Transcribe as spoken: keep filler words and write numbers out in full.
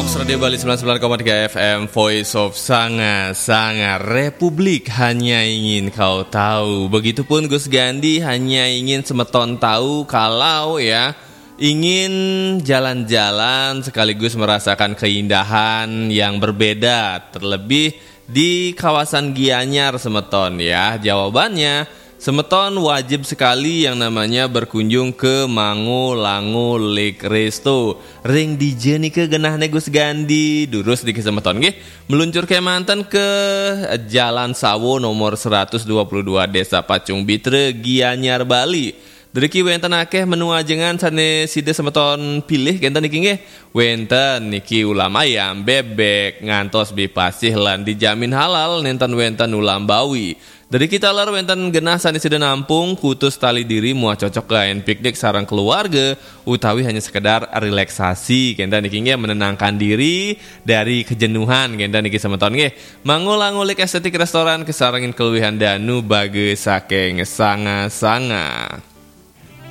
Radio Bali sembilan sembilan koma tiga F M, Voice of Sanga, Sanga Republik, hanya ingin kau tahu. Begitupun Gus Gandi, hanya ingin semeton tahu kalau ya ingin jalan-jalan sekaligus merasakan keindahan yang berbeda, terlebih di kawasan Gianyar semeton ya. Jawabannya, semeton wajib sekali yang namanya berkunjung ke Mango Lango Lake Resto. Ring dija nika genahne Gus Gandi, durus niki semeton nggih. Meluncur kemanten ke Jalan Sawo nomor seratus dua puluh dua, Desa Pacung Bitra, Gianyar, Bali. Driki wenten akeh menu ajengan sane sida semeton pilih kenten niki nggih. Wenten niki ulam ayam, bebek, ngantos bipasih lan dijamin halal, nenten wenten ulam bawi. Driki taler wenten genah sane sida nampung, kutus tali diri muah cocok kaen piknik sareng keluarga, utawi hanya sekedar relaksasi, kenten niki nggih menenangkan diri dari kejenuhan, kenten niki semeton nggih. Mango Lango Lake Aesthetic Restaurant kesarengin keluwihan danu baga saking Sanga-Sanga.